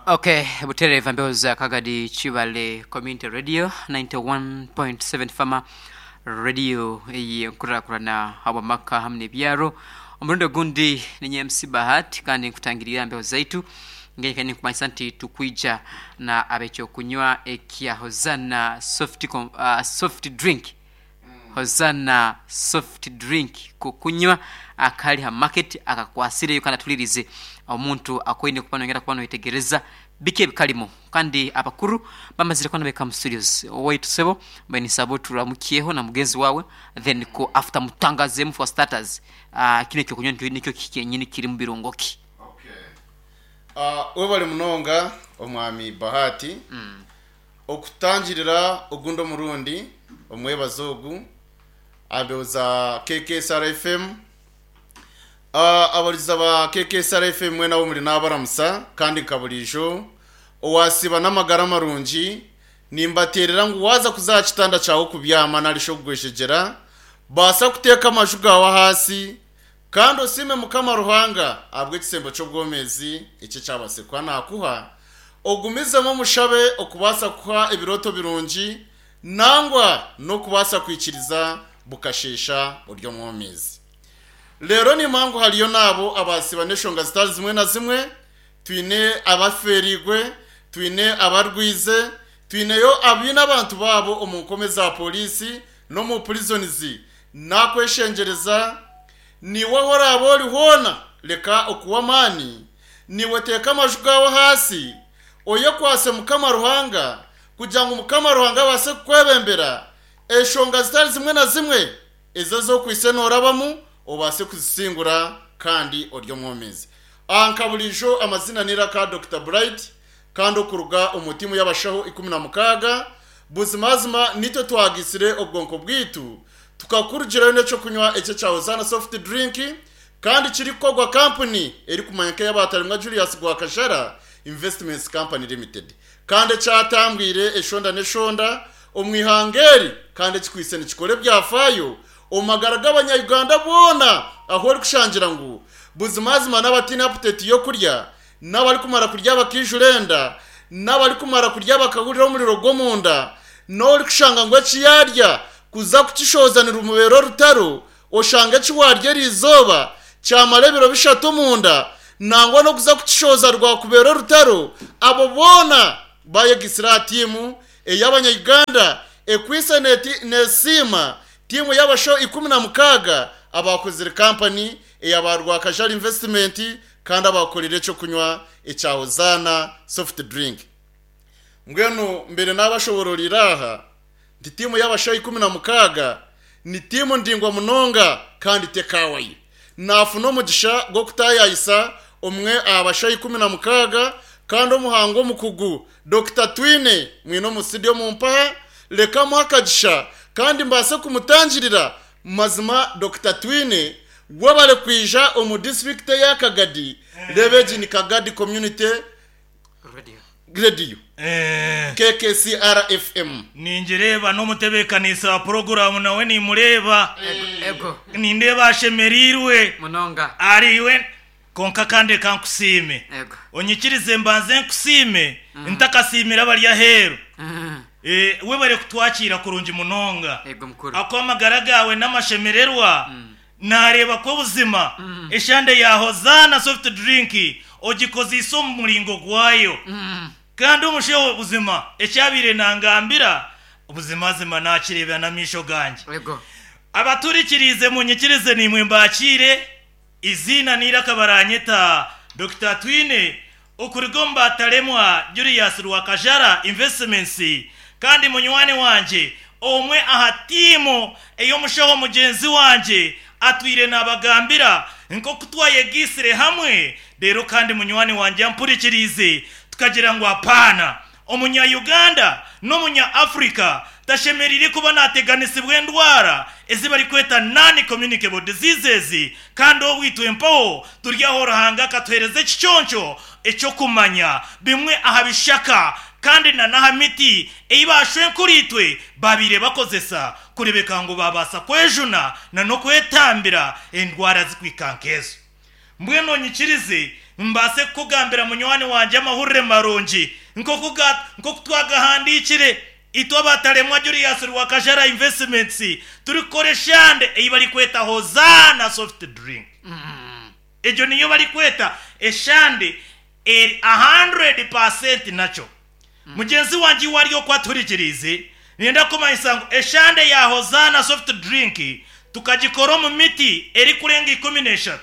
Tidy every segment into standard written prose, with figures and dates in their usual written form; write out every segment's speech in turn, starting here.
Okay, butereeva mbeho za Kagadi Kibale Community Radio 91.7 Fama Radio ey'enkurakurana habw'amaka hamu n'ebyaro. Omurundi ogundi ninye MC Bahati kandi nkutangirira aha mbeho zaitu ngenye ninkumanyisa nti tukwija na ab'ekyokunywa ekya Hosanna soft, soft drink. Hosanna soft drink kokunywa akari ha market akakwasireyo kandi atulirize omuntu akoine kuba noyongera kuba noyetegereza biki ebikarimu kandi abakuru bamazire kuba nibahika mu studios. Owaitu sebo mbaire ninsaba oturamukyeho na mugenzi wawe then ko after mutangazemu for starters kinu ekyokunywa nikyo ki kyenyini kirimu birungo ki? Webale munonga omwami Bahati. Okutangirira ogundi omurundi omwebazo ogu aha mbeho za KKSR FM. Abahurikiza ba KKSR FM mwena ahu muri nabaramusa kandi nka buriijo owasiiba n'amagara marungi nimbateerera ngu waaza kuza aha kitanda kyawe kubyama narishi okugwejegyera baasa kuteeka amaju gaawe ahaasi kandi osiime Mukama Ruhanga ahabw'ekisembo ky'obwomeezi eki ekyabaasire kuba naakuha. Ogumizemu omushabe okubaasa kukuha ebirooto birungi nangwa n'okubaasa kwikiriza bukasheesha ori omwomeezi. Reero nimanya ngu hariyo n'abo abaasiba n'eshonga zitari zimwe na zimwe, twine abafeereirwe, twine abarwize, twineyo abaine abantu baabo omu nkome za pooriisi n'omu prisons. Naakweshengyereza, naiwe ahu oraabe ori hoona, reka okuwa amaani. Naiwe teeka amaju gaawe ahaasi, oyekwatse Mukama Ruhanga, kugira ngu Mukama Ruhanga abaase kukwebembera, enshonga zitari zimwe na zimwe ezi ezi okwaitse noorabamu obaase kuzisingura kandi ori omwomeezi. Aha nka buriijo amazina n'eiraka Dokita Bright kandi okuruga omu tiimu y'abashaho 16, buzimazima nitwe twagaitsire obwonko bwaitu tukakurugirayo n'eky'okunywa eki ekya Hosanna Soft Drink kandi kirikukorwa kampuni erikumanywa nk'ey'abaatarimwa Julius Rwakajara Investments Company Limited kandi ekyatambwire eshonda n'eshonda omu ihanga eri kandi ekikwaitse nikikora ebyafaayo omu magara g'abanya-Uganda boona ahu orikushangira ngu buzimazima n'abataine aputeti y'okurya n'abarikumara kurya bakaijura enda n'abarikumara kurya bakahurira omuriro gw'omunda n'orikushanga ngu eki yaarya kuza kukishohoza nirumubeera orutaro Oshanga eki waarya eri izooba kyamara ebiro bishatu omunda, nangwa n'okuza kukishohoza rwakubeera orutaro, abo boona bayegaitsire aha tiimu ey'abanya-Uganda ekwaitse nesiima tiimu y'abashaho 16 abaakozire kampani eya ba Rwakajara Investment kandi abaakoreire eky'okunywa ekya Hosanna Soft Drink. Mbwenu mbaire naabashoboororera aha nti tiimu y'abashaho 16 ni tiimu ndaingwa munonga kandi tekaawayo. Naafuna omugisha gw'okutaayaayisa omwe aha bashaho 16 kandi omuhangu omukugu Dokita Twine mwine omu studio omu mpaha, reka muhe akagisha kandi mbaase kumutangirira. Mazima Dokita Twine webare kwija omu disiturikiti eya Kagadi, reeba egi ni Kagadi Community Radio, KKCR FM. Ningireeba n'omutebeekanisa wa puroguraamu nawe nimureeba. Nindeeba ashemereirwe. Munonga. Ariwe. Kwonka kandi reka nkusiime. Onyikirize mbanze nkusiime ntakasiimire abari aheeru. Webare kutwakiira kurungi munonga. Ahakuba amagara gaawe n'amashemererwa. Naareeba ku obuzima eshande ya Hosanna Soft Drink ogikozeise omu muringo gwayo. Kandi omushaija buzima eki abaire nangambira, buzimazima naakireebera n'amaisho gangye. Abaturikiriize munyikirize naimwe mbaakiire, eiziina n'eiraka baraanyeta Dokita Twine okuruga omu Bataremwa Julius Rwakajara Investments kandi munywani wangye omwe aha tiimu ey'omushaho mugyenzi wangye atwire naabagambira nk'oku twayegaitsire hamwe reero kandi munywani wangye ampurikiriize tukagira ngu apaana Omunya Uganda n'omunya Africa tashemereire kuba nateganisibwa endwara ezi barikweta non communicable diseases kandi obwo itwe mpaho turi aho Ruhanga akatuhereza ekiconco eky'okumanya bimwe aha bishaka kandi na n'aha miti ei ba shwenkuriitwe babaire bakozesa kurebeka ngu babaasa kwejuna na n'okwetambira endwara zikuhika nk'ezo. Mbwenu onyikirize. Mbaase kukugambira munywani wangye amahurire marungi nk'oku ga, nk'oku twagahandiikire itwe abataremwa Julius Rwakajara Investments turikukora eshande ei barikweta Hozaana Soft Drink. Egyo niyo barikweta eshande eri 100% natural. Mugyenzi wangye iwe ari oku atuhurikiriize, niinyenda kukumanyisa ngu eshande ya Hozaana Soft Drink tukagikora omu miti erikurenga 13.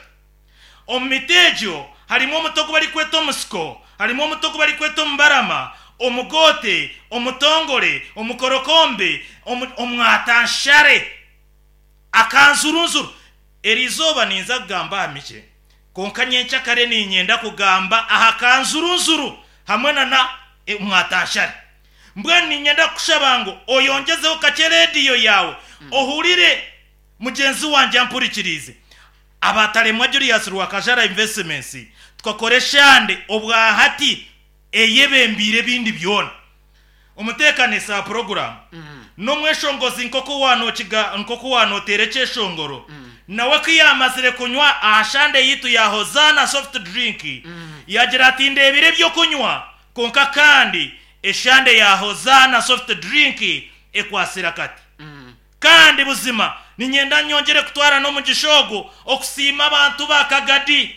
Omu miti egyo harimu omuti ogu barikweta omusiko, harimu omuti ogu barikweta omubarama, omugoote, omutongore, omukorokombe, omwatanshare, akanzurunzuru. Eri izooba ninza kugamba aha mikye, kwonka nyenkyakare niinyenda kugamba aha kanzurunzuru hamwe na omwatanshare. Mbwenu niinyenda kukushaba ngu oyongyezeho kakye rediyo yaawe ohurire mugyenzi wangye ampurikiriize. Abataremwa Julius Rwakajara Investments tukakora eshande obwahati eyebembiire ebindi byona. Omuteekanisa wa puroguraamu n'omweshongozi nk'oku waanoteera ekyeshongoro, nawe ku yaamazire kunywa aha shande yaitu ya Hozaana Soft Drink, yaagira ati, Ndeebire eby'okunywa, kwonka kandi eshande ya Hozaana Soft Drink ekwatsire akati. Kandi buzima niinyenda nyongyere kutwara n'omugisha ogu okusiima abantu ba Kagadi,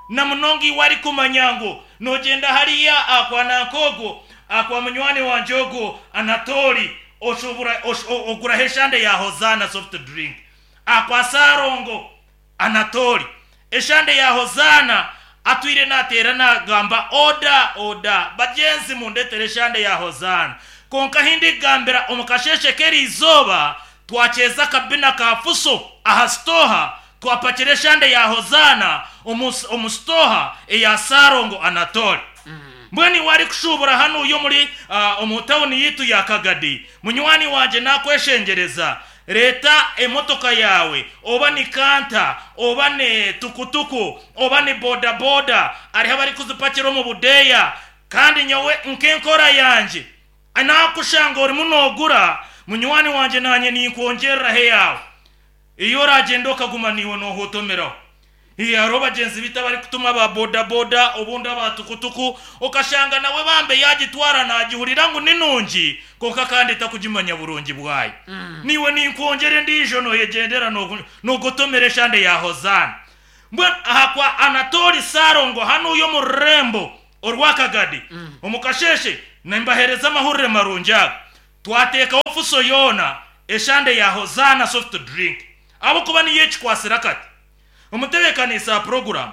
na munonga iwe arikumanya ngu noogyenda hariya aha kwa nanka ogwo, aha kwa munywani wangye ogwo Anatooli, oshubura, oguraho eshande ya Hozaana Soft Drink, aha kwa Saarongo Anatooli. Eshande ya Hozaana atwire naateera naagamba, Oda! Oda! Bagyenzi mundeetere eshande ya Hozaana. Kwonka ahi ndikugambira omu kasheeshe k'eri izooba, twakyeza akabina ka fuso aha sitooha, twapakira eshande ya Hozaana omu sitooha eya Saarongo Anatooli. Mbwenu iwe arikushuubura hanuya omuri omu tauni yaitu ya Kagadi, munywani wangye naakweshengyereza, Reeta emotoka yaawe, oba ni kanta, oba ni tukutuku, oba ni bodaboda, hariho abarikuzipakira omu budeeya, kandi nyowe nk'enkora yangye, naakushanga orimu noogura, munywani wangye naanye ninkwongyereraho eyaawe, ei oraagyende okaguma naiwe noohotomeraho. Hariho bagyenzi baitu abarikutuma aba bodaboda obundi aba tukutuku okashanga nawe bambe yaagitwara naagihurira ngu ni nungi kwonka kandi takugimanya burungi bwayo. Naiwe ninkwongyera endiijo nooyegyendera noogotomera eshande ya Hozaana. Mbwenu aha kwa Anatooli Ssalongo hanuya omu rurembo orwa Kagadi omu kasheeshe nimbaheereza amahurire marungi aga. Twateekaho fuso yoona eshande ya Hozaana Soft Drink ahabw'okuba niyo ekikwatsire akati. Omutebeekaniisa wa puroguraamu,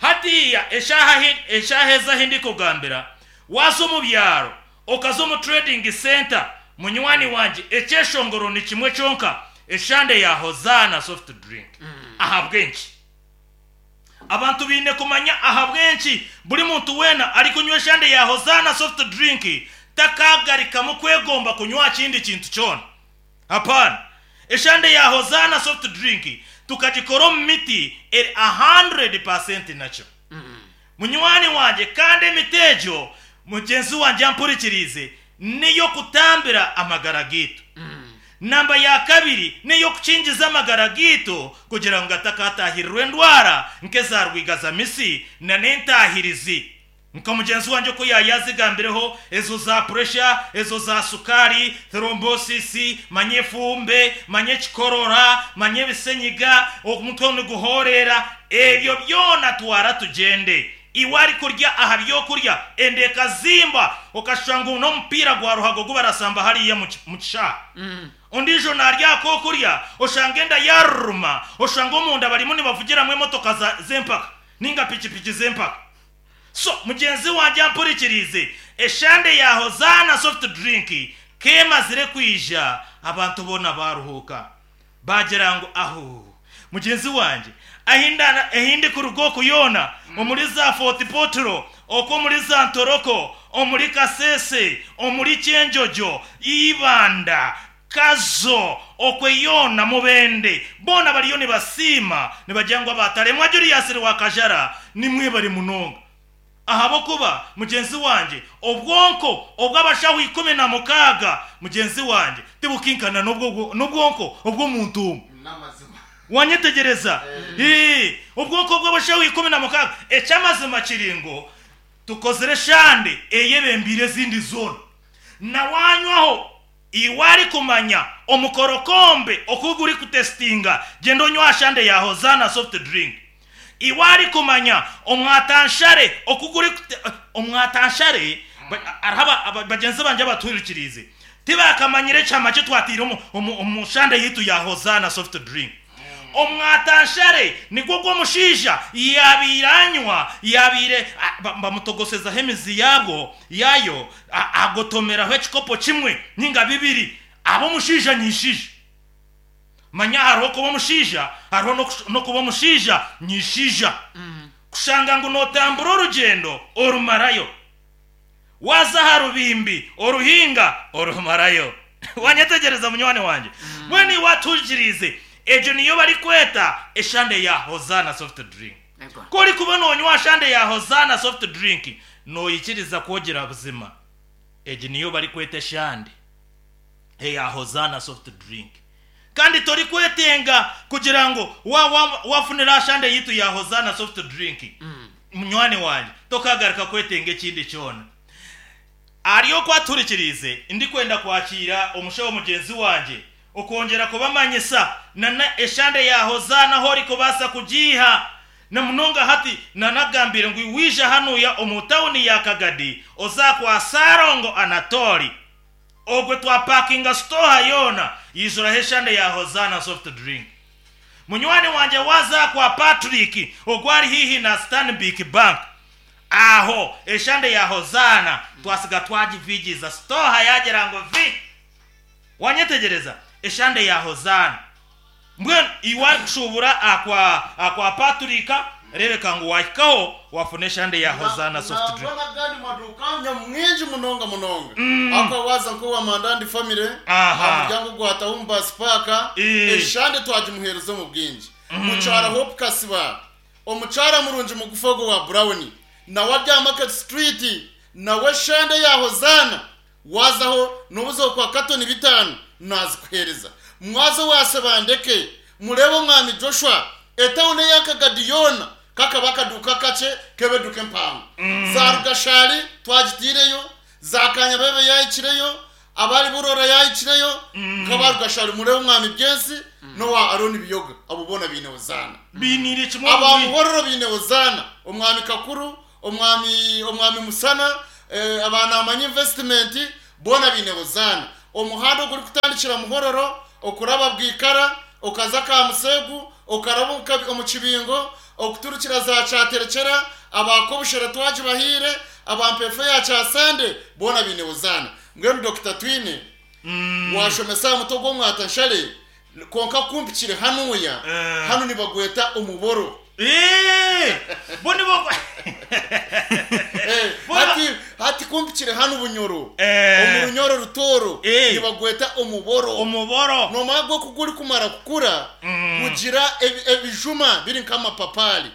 Hatiiya eshaaha eshaaha ezi ahi ndikugambira, waaza omu byaro okaza omu trading centre, munywani wangye ekyeshongoro ni kimwe kyonka, eshande ya Hozaana Soft Drink. Ahabw'enki? Abantu baine kumanya ahabw'enki buri muntu weena arikunywa eshande ya Hozaana Soft Drink takaagarikamu kwegomba kunywa aha kindi kintu kyona. Hapana. Eshande ya Hozaana Soft Drink tukagikora omu miti eri 100% natural. Munywani wangye kandi emiti egyo mugyenzi wangye ampurikiriize n'ey'okutambira amagara gaitu. Namba ya kabiri n'ey'okukingiza amagara gaitu kugira ngu gatakataahirirwa endwara nk'eza rwigazamisi na n'entaahirizi. Nka mugyenzi wangye oku yaayazigambireho, ezo za puresha, ezo za sukaari, thrombosisi, manya efumbe, manya ekikorora, manya ebisenyiga, omutwe niguhoorera, ebyo byona twara tugyende. Iwe arikurya aha by'okurya, enda ekazimba, okashusha ngu n'omupiira gwa ruhago ogu barasamba hariya omu kishaayi. Ondiijo naarya aha k'okurya, oshanga enda yaaruruma, oshanga omunda barimu nibavugiramu emotoka z'empaka nainga pikipiki z'empaka. So mugyenzi wangye ampurikiriize, eshande ya Hozaana Soft Drink k'emazire kwija abantu boona baaruhuuka. Baagira ngu ahuu! Mugyenzi wangye, ahi ndikuruga oku yoona, omuri za Fort Portal, okwo omuri za Ntoroko, omuri Kasese, omuri Kyenjojo, Ibanda, Kazo, okwe yoona Mubende, boona bariyo nibasiima nibagira ngu abataremwa Julius Rwakajara nimwebare munonga ahabw'okuba mugyenzi wangye obwonko obw'abashaho 16 mugyenzi wangye tibukinkana n'obwonko obw'omuntu omwe. Wanyetegyereza? Ii, Obwonko bw'abashaho 16. Eky'amazima kiri ngu tukozire eshande eyebembeire ezindi zoona. Na wanywaho iwe arikumanya omukorokombe oku gurikutesitinga, gyenda onywe aha shande ya Hosanna soft drink. Iwe arikumanya omwatanshare oku gurikute omwatanshare hariho bagyenzi bangye abatuhurikiriize tibakamanyire ekihama ki twataire omu omu omu shande yaitu ya Hosanna soft drink. Omwatanshare nigwo ogu omushaija yaabaire anywa, yaabaire bamutogosezaho emizi yaagwo, yaayo, agotomeraho ekikopo kimwe nainga bibiri, aba omushaija nyaishaija. Manya hariho okuba omushaija, hariho n'okuba omushaija nyaishaija. Kushanga ngu nootambura orugyendo orumarayo. Waaza aha rubimbi oruhinga orumarayo. Wanyetegyereza munywani wangye? Mbwenu iwe atuhurikiriize, egyo niyo barikweta eshande ya Hosanna soft drink. Ku orikuba noonywa aha shande ya Hosanna soft drink, noikiriza ku ogira buzima egi niyo barikweta eshande eya Hosanna soft drink. Kandi torikwetenga kugira ngu wafunira aha shande yaitu ya Hosanna soft drink, munywani wangye, tokagaruka kwetenga ekindi kyona. Ahari oku atuhurikiriize, ndikwenda kwakiira omushaho mugyenzi wangye okwongyera kubamanyisa na eshande ya Hosanna ahu orikubaasa kugiiha. Na munonga hati nanagambire ngu waija hanuya omu tawuni ya Kagadi oza kwa Ssalongo Anatoli. Ogwe twapakinga sitooha yoona yaijuraho eshande ya Hosanna soft drink. Munywani wangye waaza kwa Patrick ogwo ari haihi na Stanbic Bank aho eshande ya Hosanna twasiga twagivigiiza sitooha yaagira ngu vi! Wanyetegyereza? Eshande ya Hosanna. Mbwenu iwe arikushuubura aha kwa Patrick reebeka ngu waahikaho waafuna eshande ya Hosanna soft drink. Nangwa n'agandi maduuka nyamwingi munonga munonga. Ahakuba waaza nk'owa Mandandi Family, aha muryango gwa Tahumu Bus Park, eshande twagimuheereza omu bwingi. Mukyara Hope Kasiba, omukyara murungi mugufu ogwo owa Brown, nawe ari aha Market Street, nawe eshande ya Hosanna Waazaho n'obuza okwa katoni bitaano naazikuheereza. Mwaza owa Sebandeke, mureebe omwami Joshua, etauni eya Kagadi yoona kakaba akaduuka kakye k'ebeduka empango. Za Rugashari twagitaireyo, za Kanyabebe yaahikireyo, abari Burora yaahikireyo, nk'aba Rugashari mureebe omwami Byensi n'owa Arooni Biyoga, abo boona baine Hozaana. Bainiire kimwe Aba obwingi. Muhororo baine Hozaana, omwami Kakuru, Omwami Omwami Musana, aba Naamanya Investment boona baine Hozaana. Omuhanda ogurikutandikira Muhororo okuraba Bwikara okaza Kamuseegu okaraba omu Kibingo okuturukira za Kyaterekyera aba Kobushera twagibahaire, aba Mpeefu eya Kyasande boona baine Hozaana. Mbwenu Dokita Twine waashomesa aha mutwe gw'omwata nshare Kwonka ku mpikire hanuya, hanu nibagweta omuboro. Bo nibo Hati, hati ku mpikire hanu Bunyoro, omu Runyoro Rutooro, nibagweta omuboro. Omuboro. Noomanya gwo ku gurikumara kukura, gugira ebijuma biri nk'amapapaari.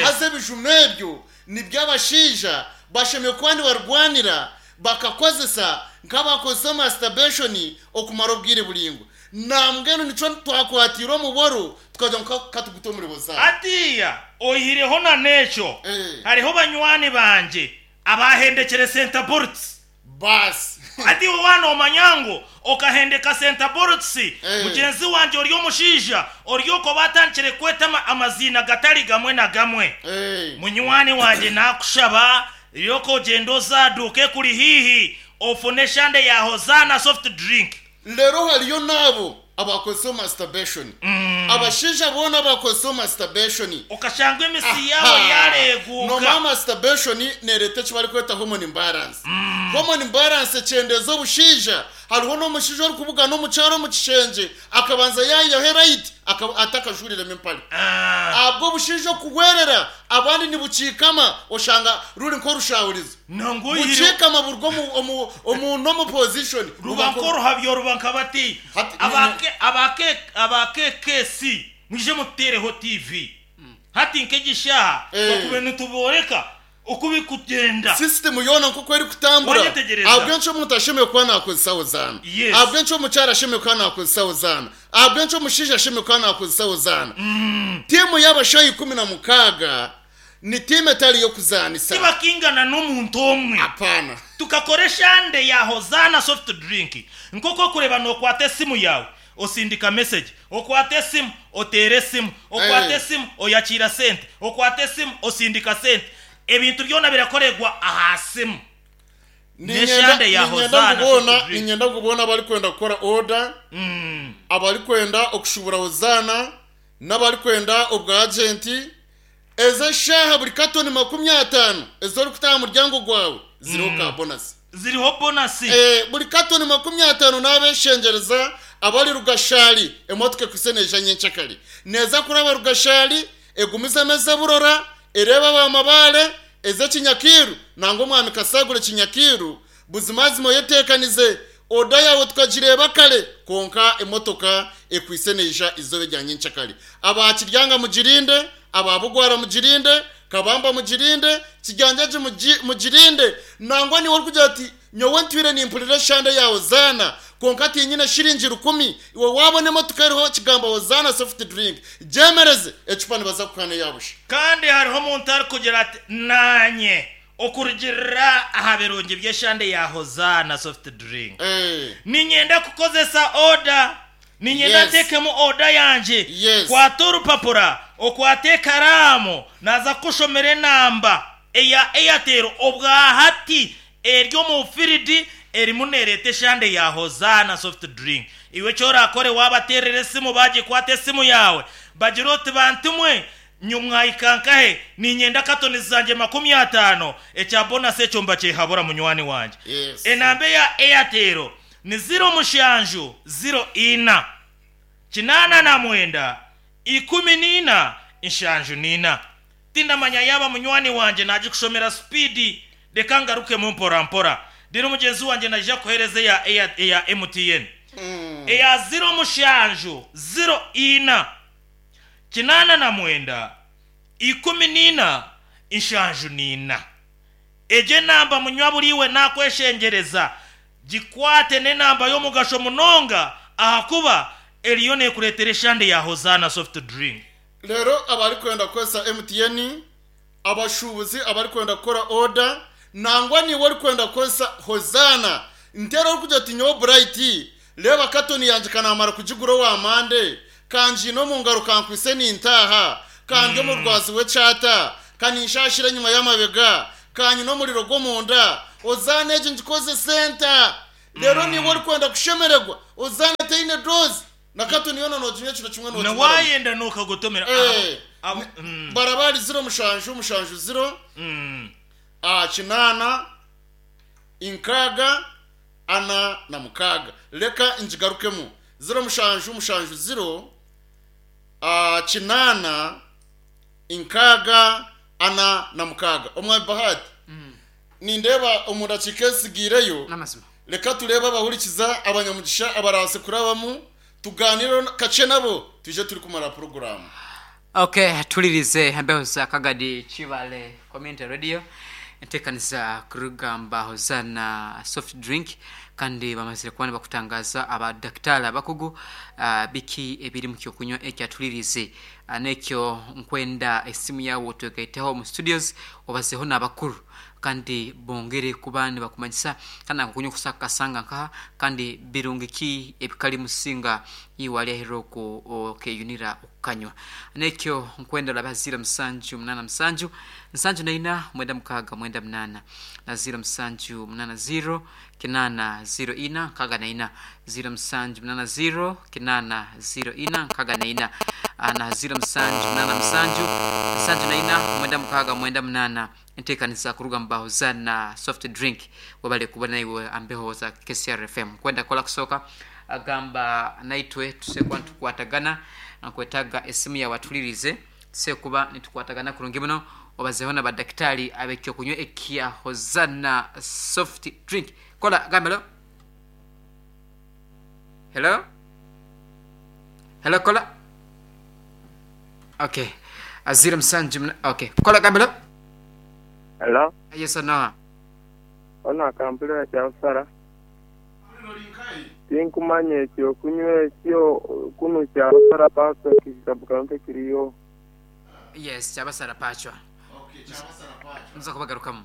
Haza ebijuma ebyo nibyo abashaija bashemereire kuba nibarwanira bakakozesa nk'abakozesa masturbation okumara obwire buraingwa. Nambwenu nikyo twakwatiire omuboro tukagira ngu ka tugute omuri Hozaana. Hatiiya oihireho na n'ekyo, hariho banywani bangye abaahendekire Senta Bolts. Baasi. Hati iwe waaba noomanya ngu okahendeka Senta Bolts, mugyenzi wangye ori omushaija ori okwo baatandikire kukweta amaziina gatari gamwe na gamwe. Munywani wangye naakushaba ryoka ogyende oze aha duuka ekuri haihi ofune eshande ya Hozaana soft drink. Reero hariyo n'abo abakozesa masturbation. Abashaija boona abakozesa masturbation. Okashanga emisi yaabo yaareeguuka. Noomanya masturbation neereeta eki barikweta hormone imbalance. Hormone imbalance ekyendeeza obushaija. Hariho n'omushaija orikubugana omukyara omu kishengye akabanza yaihaho erayiti atakajuuriremu empare. Ahabw'obushaija okuhwerera abandi nibukiikama oshanga ruri nk'orushahurizo. Nangwa oihireho. Bukiikama buruga omu, omu, omu normal position. Ruba nk'oruhabyo ruba nka bati, Hati, aba K, aba K, aba KKC mwije mututeereho TV. Hati nk'egi shaaha Eh. twakubaire nitubooreka. Oku birikugyenda. Sisitimu yoona nk'oku erikutambura. Wanyetegyereza? Ahabw'enki omuntu ashemereire kuba naakozesa Hozaana? Yes. Ahabw'enki omukyara ashemereire kuba naakozesa Hozaana? Ahabw'enki omushaija ashemereire kuba naakozesa Hozaana? Tiimu y'abashaho 16 ni tiimu etari y'okuzaanisa. Tibakingana n'omuntu omwe. Apaana. Tukakora eshande ya Hozaana soft drink. Nk'oku orikureeba nookwata esimu yaawe osindika mesegi, okwata esimu oteera esimu, okwata esimu oyakiira sente, okwata esimu osindika sente. Ebintu byona birakoregwa aha simu. N'eshande ya Niinyenda Hozaana ngu boona soft drink. niinyenda ngu boona abarikwenda kukora oda, abarikwenda okushuubura Hozaana n'abarikwenda obwa agenti, Ezo eshaaha buri katoni 50 ezi orikuta aha muryango gwawe ziriho ka bonasi. Ziriho bonasi. Buri katoni 50 naabeshengyereza abari Rugashari emotoka ekwitse neija nyenkyakare. Neeza kuraba Rugashari, egumizemu eze Burora, ereebe aba Mabaare, eze Kinyakiiru nangwa Omwami Kasagure Kinyakiiru. Buzimazima oyeteekanize, oda yaawe tukagireeba kare kwonka emotoka ekwitse neija eizooba erya nyenkyakare. Aba Kiryanga mugirinde, aba Bugwara mugirinde, Kabamba mugirinde, Kiganjagi mugirinde, nangwa naiwe orikugira oti nyowe ntwire nimpurira eshande ya Hozaana kwonka tinyine shiringi rukumi, iwe waabona emotoka eriho ekigambo Hozaana soft drink, gyemereze, ecupa nibaza kukuha n'eya busha. Kandi hariho omuntu arikugira ati, Naanye Okurugiirira aha birungi by'eshande ya Hozaana soft drink, niinyenda kukozesa oda. Niinyenda nteekemu oda yangye. Kwata orupapura, okwate ekaraamu, naaza kukushomera enamba eya Airtel obwahati eri omu firidi erimu neereeta eshande ya Hozaana soft drink. Iwe eki oraakore waabateerera esimu baagikwata esimu yaawe, bagire oti bantumwe Nyowe mwahika nkahe? Niinyenda katoni zangye 50, ekya bonasi ekyo mbakyehabura munywani wangye. Enamba eya Airtel ni ziro mushanju ziro ina, 89, 14, 74. Tindamanya yaaba munywani wangye naagikushomera supiidi, reka ngarukemu mpora mpora. Reero mugyenzi wangye naija kukuheereza eya eya MTN. Eya ziro mushanju ziro ina. 89, 14, 74. Egyo enamba munywa buriiwe nakweshengyereza, gikwate n'enamba y'omugasho munonga ahakuba eriyo nekureetera eshande ya Hozaana Soft Drink. Reero abarikwenda kukozesa MTN, abashuubuzi abarikwenda kukora oda, nangwa naiwe orikwenda kukozesa Hozaana, nteera orikugira oti nyowe Bright, reeba katoni yangye ka naamara kugigura owa Mande, ka ngiine omu ngaro kankwitse nintaaha, ka ndi omu rwazi rw'ekyata, ka ninshaashira enyima y'amabega, ka nyine omuriro gw'omunda, Hozaana egi ngikozese nta? Reero naiwe orikwenda kushemererwa, Hozaana teine doozi. Na katoni yoona nooginywa ekiro kimwe Na noogimaramu. waayenda nookagotomera Eh, abo, ni- baraba ari ziro mushanju mushanju ziro 8 inkaaga ana na mukaaga. Reka ngigarukemu. Ziro mushanju mushanju ziro 8 inkaaga ana na mukaaga. Omwami Bahati, nindeeba omu dakiika ezitsigaireyo, N'amazima. Reka tureebe abahurikiza abanyamugisha abarabaase kurabamu, tugaaniire kakye nabo, twije turikumara puroguraamu. Ok, tuhuririze embeho za Kagadi Kibale Community Radio enteekaniza kurugamba Hosanna Soft Drink kandi bamazire kuba nibakutangaza aba dakitari abakugu biki ebiri mu kyokunywa ekya tuhuririze n'ekyo nkwenda esimu yaawe otwegaiteho omu studios obazeho n'abakuru Kandi bongere kuba nibakumanyisa kandi nankokunywa okusa kukasanga nkaha kandi birungi ki ebikali musinga iwe ali aheru oku okeyunira okukanywa. Nekyo nkwenda orabe ha ziro musanju munana musanju, nsanju na ina, mwenda mukaaga mwenda munana, na ziro musanju munana ziro, kinana ziro ina, nkaaga na ina, ziro musanju munana ziro, kinana ziro ina, nkaaga na ina, na ziro musanju munana musanju, nsanju na ina, mwenda mukaaga mwenda munana. Enteekaniza kuruga mu ba Hosanna Soft Drink webale kuba naiwe ambeho za KCR FM. Kwenda kola kusooka gamba naitwe tuse kuba nitukwatagana nkwetaaga esimu yawe atulirize tuse kuba nitukwatagana kurungi muno obazeho na badakitari ab'ekyokunywa ekya Hosanna Soft Drink. Kola gamba hello. Hello. Hello kola. Okay. Ziro musanju muna okay. Kola gamba hello. Hello. Yes noha? Ono akampulira kyabasara. Tinkumanya ekyo kunywa ekyo kunu kyabasara pachwa sub county kiriyo. Yes, kyabasara pachwa. Nza kubagarukamu.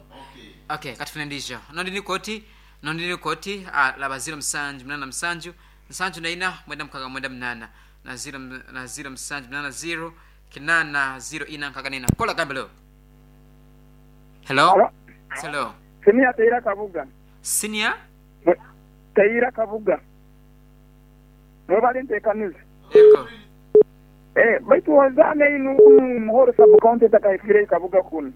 Okay, katufune endiijo. Nondi ni koti, nondi ni koti, ah, laba 0787 74 98 na 0 na 0780 8 04 64. Kola gambe lo. Hello. Hello. Hello. Senior Teira Kabuga. Senior Teira Kabuga. Mwebale enteekaniza. Yego. Eh, baitu wazaana inu kunu Muhoro sub county etakahikire Kabuga kunu.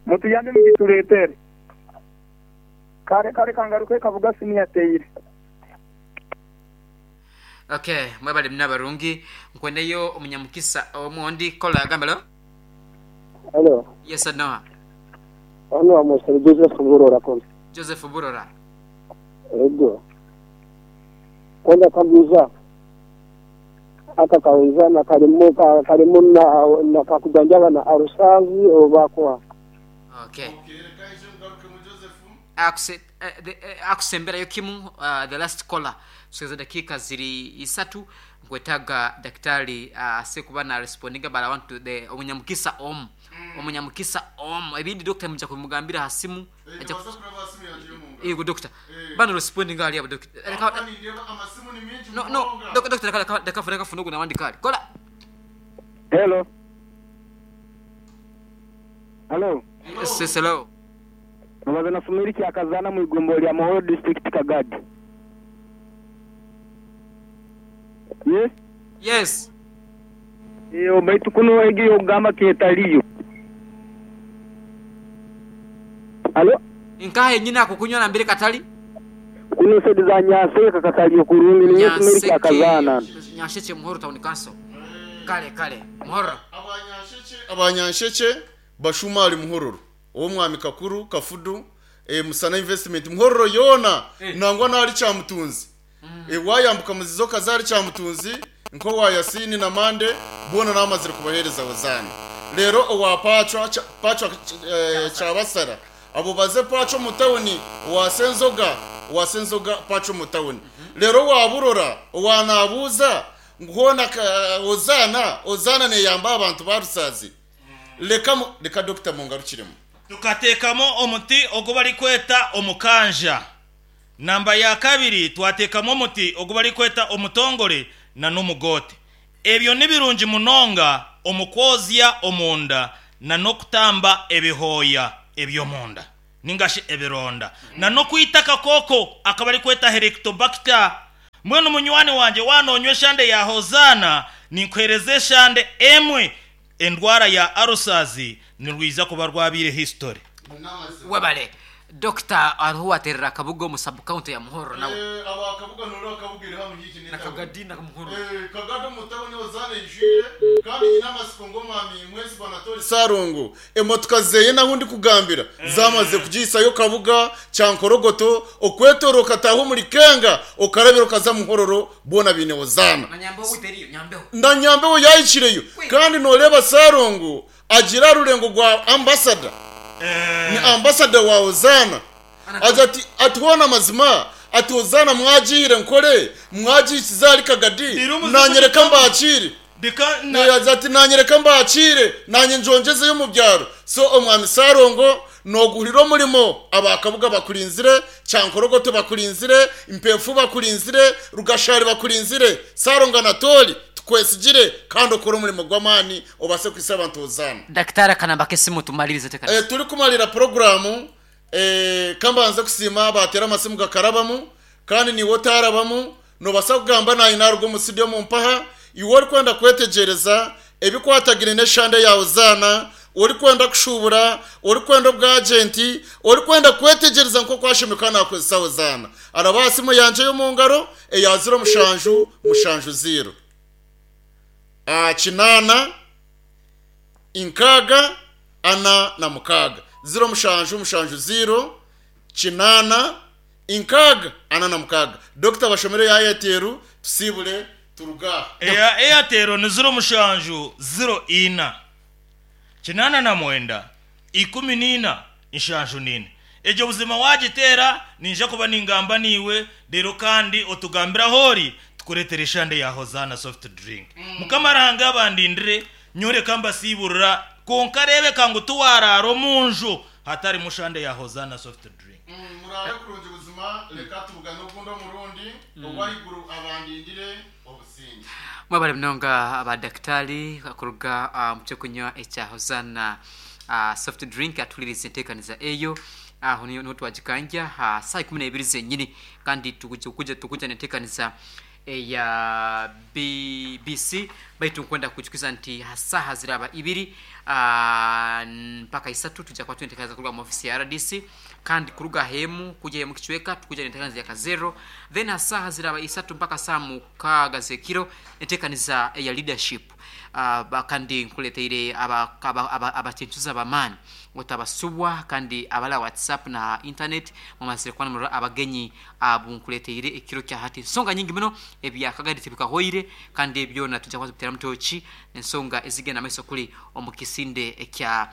Mutuyambe mugitureetere. Kare kare kangaruke Kabuga senior Teira. Okay, mwebale muna barungi. Nkwendeyo omunyamukisa omundi kola gambe lo. Hello. Yes Noah. Hano amusore Joseph Burora kono. Joseph Burora. Ego. Kwenda kabuza. Aka kawezana kalimu ka, kalimu na, na kakujanjaba na arusazi oba kwa. Okay. Akuse, akusemberayo kimu the last caller tusogeza dakika ziri isatu nkwetaga daktari asekuba na respondinga but I want to the omunyamukisa om omunyamukisa om ebindi doctor muja kumugambira ha simu aja yego doctor bano respondinga ali abo doctor no no doctor doctor reka reka funugu nawandi kali kola. Hello. Hello. Yes, yes, hello. Mubaze na Fumiri Kyakazana mu igombo lya Muhoro district Kagadi. Yes? Yes. Iyo baitu kuno egi yogamba ketaliyo. Halo? Nkahe nyina akukunywa na mbere katali? Kuno sedi za Nyaseka kataliyo kurungi ni Fumiri Kyakazana. Nyasheke Muhoro town council. Kale kale Muhoro. Abanyansheke bashuma ali Muhororo. Omwami Kakuru Kafudu Musana Investment Muhororo yona nangwa nali kyamutunzi. Wayambuka muzizo kazari kyamutunzi nko wayasini na mande bona namazire kubahereza wazana. Lero owa pachwa pachwa kyabasara abo baze pachwa mutawuni wasenzoga wasenzoga pachwa mutawuni. Lero waburora wanabuza ngona ozana ozana ne yamba abantu barusazi. Leka leka Dr. Mungarukiremu. Tukateekamo omuti ogu barikweta omukanja. Namba ya kabiri twateekamu omuti ogu barikweta omutongore na n'omugote. Ebyo ni birungi munonga omukwozya omunda na n'okutamba ebihooya eby'omunda ningashi ebironda na n'okwita akakoko akabarikweta helicobacter. Mbwenu munywani wanje wanonywa eshande ya Hozana ninkwereza eshande emwe endwara ya arusazi nirwiza kuba rwabire history. Webale Dr. aruwaterera Kabuga mu sub county ya Muhoro nawe. Aba Kabuga noro akabugire hano hiki ni Kagadi na Muhoro. Kagado mutawuni ozana ijire kandi nyina masiko ngo mwami mwezi banatori Sarungu emotoka zeye naho ndi kugambira zamaze kugisayo Kabuga cyankorogoto okwetoroka taho muri Kenga okarabiro kaza Muhororo bona bine ozana. Na Nyambeho witeriyo Nyambeho. Na Nyambeho yayikireyo kandi noreba Sarungu agira rurengo rwa ambassador. Ni ambassador wa Ozana. Aza ati atuona mazima ati Ozana mwajire nkore mwajikizali Kagadi nanyereka mbakire aza ati nanyereka mbakire nanye njongezeyo mu byaro. So omwami Sarongo noguhurira omurimo abakabuga bakurinzire cyankorogoto bakurinzire impefu bakurinzire rugashari bakurinzire Sarongo Anatoli tukwesigire kandi ukora umurimo gw'amani obase kwisa abantu Ozana. Daktari akanamba kesimu tumalirize tekana. Turi kumalira programu kambanze kusima batera amasimu gakarabamu kandi niwo tarabamu nobasa kugamba nayi narugo mu studio mu mpaha iwe ori kwenda kwetegereza ebikwatagire n'eshande ya Ozana ori kwenda kushubura ori kwenda obwagenti ori kwenda kwetegereza nko kwashimika nakozesa Ozana araba simu yanje yo mu ngaro eya 0 7 7 0 8 inkaga ana na mukaga 0 7 7 0 8 inkaga ana na mukaga. Dr. Bashomere ya Airtel tusibule turuga. Eya Airtel ni 0 7 0 4 8 9 14 74. Egyo buzima waagiteera, niinyija kuba ningamba naiwe, reero kandi otugambire ahu ori, tukureetere eshande ya Hozaana Soft Drink. Mukama Ruhanga abandindire, nyowe reka mbasiiburira, kwonka reebeka ngu tiwaaraara omu nju hatarimu shande ya Hozaana Soft Drink. Muraare kurungi buzima, reka tubugane ogundi omurundi, Ow'ahaiguru abandindire obusingye. Mwebare munonga ba dakitari kuruga omu ky'okunywa ekya Hosanna soft drink atuhuririze enteekaniza eyo aho niho twagikangya aha saaha 12 zenyini kandi tukuja n'enteekaniza eya BBC baitu nkwenda kukujukiza nti ha saaha ziraba ibiri mpaka isatu tuja kuba twine enteekaniza kuruga omu ofisi ya RDC kandi kuruga ahemu kuja omu kicweka tukuja n'enteekaniza ya Kazero then ha saaha ziraba isatu mpaka saaha mukaaga z'ekiro enteekaniza eya leadership kandi nkuleteire abacencuzi ab'amaani otabasubwa kandi abali aha WhatsApp na ha internet mumazire kuba nimurora abagenyi abu nkuleteire ekiro kya hati. Ensonga nyingi muno ebya Kagadi tibikahoire kandi ebi byona twija kuba nitubiteramu tooki ensonga ezigenda maiso kuli omu kisinde ekya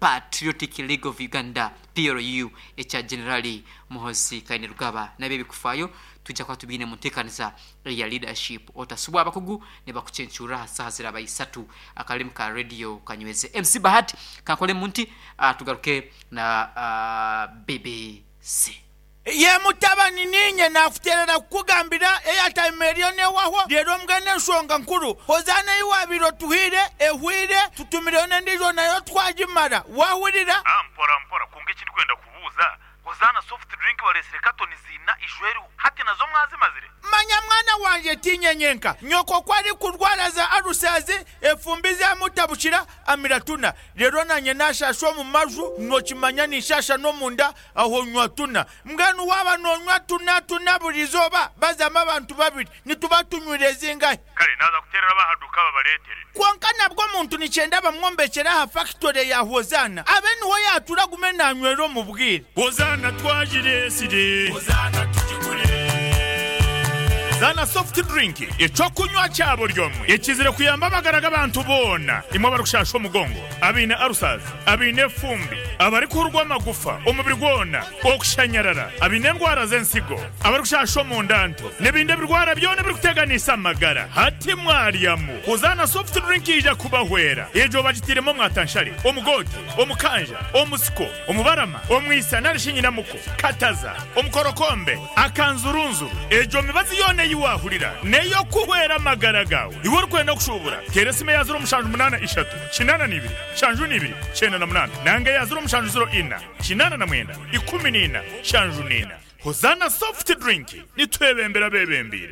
Patriotic League of Uganda, PLU, ekya Generali Muhoozi Kainerugaba nabyo ebikufaayo twija kuba tubiine mu nteekaniza eya Leadership. Otasubwa abakugu nibakucencurra aha saaha ziraba isatu. Akarimi ka Radio kanyweze. MC Bahati kankolemu nti tugaruke na BBC. Ye mutabani, niinye naakuteerera kukugambira eyataima eriyo neehwaho, reero mbwenu enshonga nkuru, Hozaana ei waabaire otuhaire ehweire, tutumireyo n'endiijo nayo twagimara. Waahurira? Ah mpora mpora, kwonka eki ndikwenda kubuuza, Hozaana soft drink bareetsire katoni ziina ishwa eriho, hati nazo mwazimazire? Manya mwana wangye, tiinye nyenka. Nyoko ku arikurwara za alusazi, efumbi zaamutabukira, amira tuna. Reero naanye naashaasha omu maju, nookimanya ninshaasha n'omunda, Aho nywa tuna. Mbwenu waaba noonywa tuna tuna buri izooba, bazamu abantu babiri, nituba tunywire zingahi? Kare naaza kuteerera ab'aha duuka babareetere. Kwonka nabwo omuntu nikyenda bamwombekyere aha fakitore ya Hozaana, abe niho yaatuura agume naanywera omu bwire. Hozaana twagireetsire. Hozaana tugigure. Zana soft drink, eky'okunywa kya buri omwe ekizire kuyamba amagara g'abantu boona, imwe abarikushasha omugongo, abaine ulcers, abaine efumbi, abarikuhurwa amagufa omubiri gwona, okushanyarara, abaine endwara z'ensigo, abarikushasha omunda nto, n'ebindi ebirwara byona ebirikuteganisa amagara. Hati mwaryamu. Hozaana soft drink yaija kubahwera. Egyo bagitairemu omwatanshare, omugoote, omukanja, omusiko, omubarama, omwisa nari shi nyinamuko, kataza, omukorokombe, akanzurunzuru. Egyo mibazi yoona ei waahurira n'ey'okuhwera amagara gaawe. Iwe orikwenda kushuubura, teera esimu eya 073 82 72 98 nanga eya 0704 89 14 74. Hozaana Soft Drink, nitwebembera abebembeire.